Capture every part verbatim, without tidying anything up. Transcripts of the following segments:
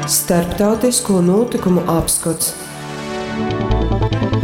Starptautisko nūtykumu apskots.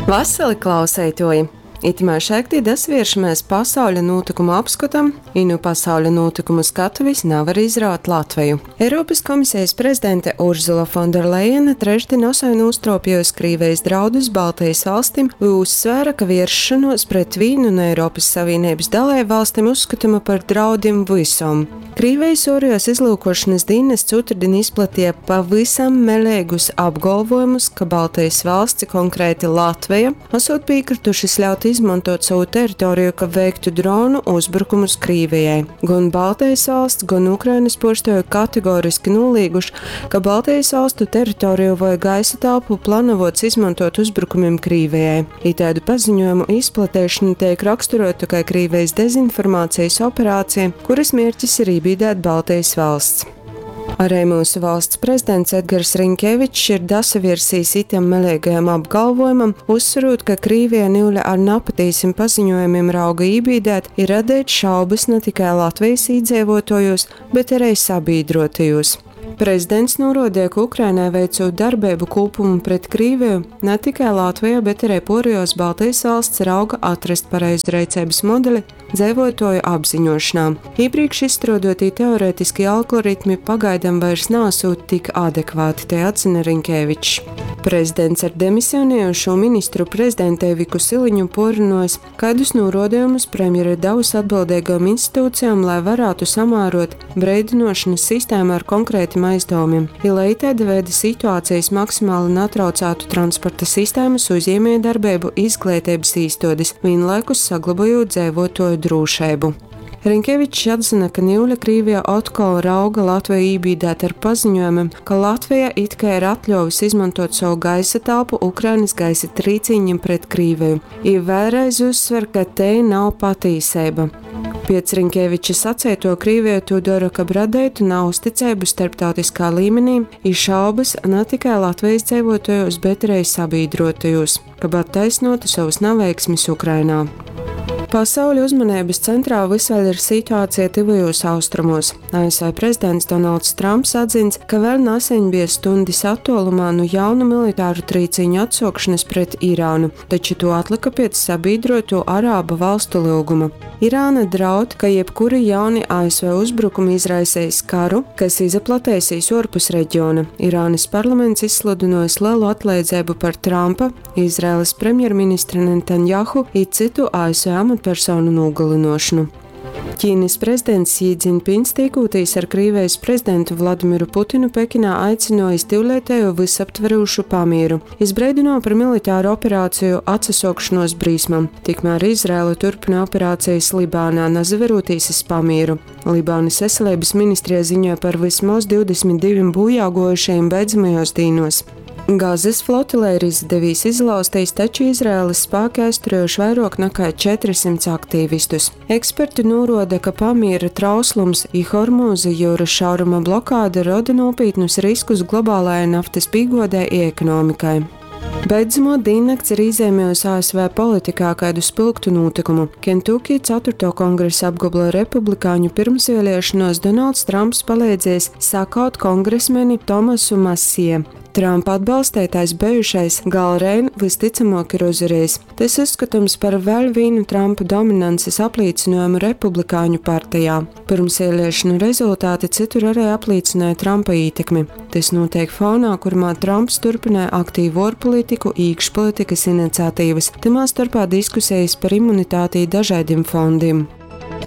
Vasali, klauseituoji! Itymā šaļtī dasavieršamēs pasauļa nūtykumu apskotam, i nu pasauļa nūtykumu skatuvis navar izraut Latveju. Eiropys Komisejis prezidente Urzula Fonderlejena trešdin osai nūstruopiejusi Krīvejis draudus Baltejis valstim i uzsvēra, ka viersšonuos pret vīnu nu Eiropys Savīneibys daleibvalstim uzskotama par draudim vysom. Krīvejis uorejuos izlyukuošonys dīnasts ūtrdin izplateja pavysam meleigus apgolvuojumus, ka Baltejis valsts i konkrēti Latveja asūt pīkrytušys ļaut izmontuot sovu teritoreju, kab veiktu dronu uzbrukumus Krīvejai. Gon Baltejis valsts, gon Ukrainys puorstuovi kategoriski nūlīguši, ka Baltejis valstu teritoreju voi gaisa telpu planavuots izmontuot uzbrukumim Krīvejai. Itaidu paziņuojumu izplateišona teik raksturuota kai Krīvejis dezinformacejis operaceja, kurys mierkis ir ībīdēt Baltejis valsts. Ari myusu valsts prezidents Edgars Rinkēvičs ir dasaviersīs itam meleigajam apgalvojumam, uzsverūt, ka Krīvija niule ar napatīsim paziņojumim rauga ībīdēt i radeit šaubys na tikai Latvejis īdzeivuotuojūs, bet ari sabīdruotajūs. Prezidents nūruodeja, ka Ukrainai veicūt darbeibu kūpumu pret Krīveju, na tikai Latveja, bet ari puorejuos Baltejis valsts rauga atrast pareizu reiceibys modeli dzeivuotuoju apziņuošonā. Īprīkš izstruoduotī teoretiskī algoritmi pagaidam vairs naasūt tik adekvati, tai atzyna Rinkēvičs. Prezidents ar demisioniejušū ministru prezidentu Eviku Siliņu puorrunuojs, kaidus nūruodejumus premjere davuse atbildeigajom institucejom, lai varātu samāruot breidynuošonys sistēmu ar konkrētim aizdavumim i lai itaida veida situacejis maksimali natraucātu transporta sistēmys, uzjiemiejdarbeibu i izgleiteibys īstuodis, vīnlaikus saglobojūt dzeivuotuoju drūšeibu. Rinkēvičs atzyna, ka niule Krīvija otkol rauga Latveju ībīdēt ar paziņojumim, ka Latveja it kai ir atļuovusi izmontuot sovu gaisa telpu Ukrainys gaisa trīcīņim pret Krīveju, i vēļreiz uzsver, ka tei nav patīseiba. Piec Rinkēviča saceituo, Krīvija tū dora, kab radeitu nauzticeibu starptautiskā līmenī i šaubys na tikai Latvejis dzeivuotuojūs, bet ari sabīdruotajūs, kab attaisnuotu sovys naveiksmis Ukrainā. Pasauļa uzmaneibys centrā vys vēļ ir situaceja Tyvajūs Austrumūs. A S V prezidents Donalds Tramps atzins, ka vēļ naseņ bija stuņdis attuolumā nu jaunu militāru trīcīņu atsuokšonys pret Irānu, taču tū atlyka piec sabīdruotū arābu valstu lyuguma. Irāna draud, ka jebkuri jauni A S V uzbrukumi izraiseis karu, kas izaplateisīs uorpus regiona. Irānys parlaments izsludynuojs lelu atleidzeibu par Trampa, Izraelys premjerministra Netanjahu i cytu A S V amatpersonu nūgalynuošonu. Ķīnys prezidents Sī Dzinpins, tīkūtīs ar Krīvejis prezidentu Vladimiru Putinu Pekinā, aicynuoja iz tiuleiteju vysaptverūšu pamīru. Jis breidynuoja par militāru operāciju atsasuokšonuos brīsmom. Tikmēr Izraela turpina operācijas Libānā, nasaverūtīs iz pamīru. Libānys veselības ministrija ziņoja par vysmoz divdesmit divim bojāguojušajim beidzamajuos dīnuos. Gazas flotilei ir izdevīs izlauztīs, taču Izraēlas spāki aizturējuši vairuok nakai četrysymts aktīvistus. Eksperti nūruoda, ka pamiera trauslums i Hormūza jiurys šauruma blokāde roda nūpītnus riskus globālajai naftys pīguodei i ekonomikai. Beidzamo dīnnakts ir īzeimējusi A S V politikā kaidu spylgtu nūtykumu. Kentucky ceturto kongresa apgobola republikāņu pyrmsvieliešonuos Donalds Tramps paleidziejs sakaut kongresmeni Tomasu Massie. Trampa atbalsteitais bejušais Galrein vysticamuok ir uzvariejs. Tys uzskotams par vēļ vīnu Trampa dominances aplīcynuojumu Republikāņu partejā. Pyrmsvieliešonu rezultāti cytur ari aplīcynoja Trampa ītekmi. Tys nūteik fonā, kurymā Tramps turpynoj aktīvu uorpolitiku i īkšpolitikys iniciatīvys, tymā storpā diskusejis par imunitāti i dažaidim fondim.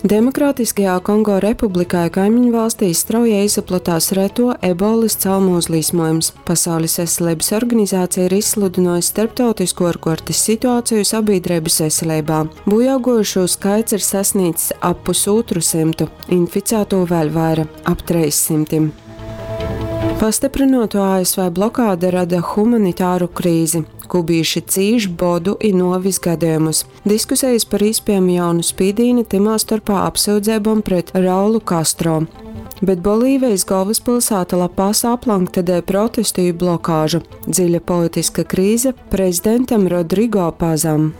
Demokrātiskajā Kongo Republikā i kaimiņu valstīs strauji izaplatās reto ebolas celmu uzlīsmojums. Pasaules veselības organizācija ir izsludinuojusi starptautisku uorkuortys situāciju sabīdreibys veseleibā. Būjāguojušū skaits ir sasnīdzs ap pusūtru symtu, inficātū vēļ vaira – ap treis symtim. Pastyprynuotuo A S V blokāde rada humanitāru krīzi. Kubīši cīš bodu i nuovis gadejumus. Diskusejis par īspiejamu jaunu spīdīni, tymā storpā apsyudzeibom pret Raulu Kastro. Bet Bolīvejis golvyspilsāta La Pasa aplankta dēļ protestu i blokāžu. Dziļa politiska krīze prezidentam Rodrigo Pazam.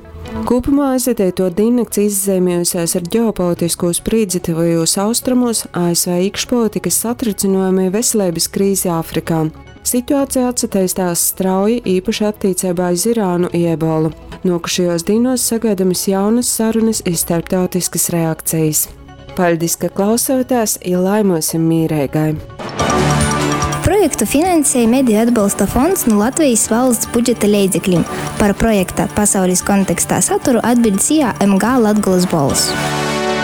Kūpumā aizvadeituo dīnnakts izzeimiejusies ar ģeopolitiskū sprīdzi Tyvajūs Austrumūs, A S V īkšpolitikys satrycynuojumu i veseleibys krīzi Āfrikā. Situācija atsateistās strauji, īpaši attīceibā iz Irānu i ebolu. Nuokušajuos dīnuos sagaidamys jaunys sarunys i starptautiskys reakcejis. Paļdis, ka klausotēs, i lai myusim mīreigai! Projektu finansej Mediju atbalsta fonds nu Latvejis valsts budžeta leidzeklim. Par projekta Pasaulis kontekstā saturu atbiļd S I A M G Latgolys Bolss.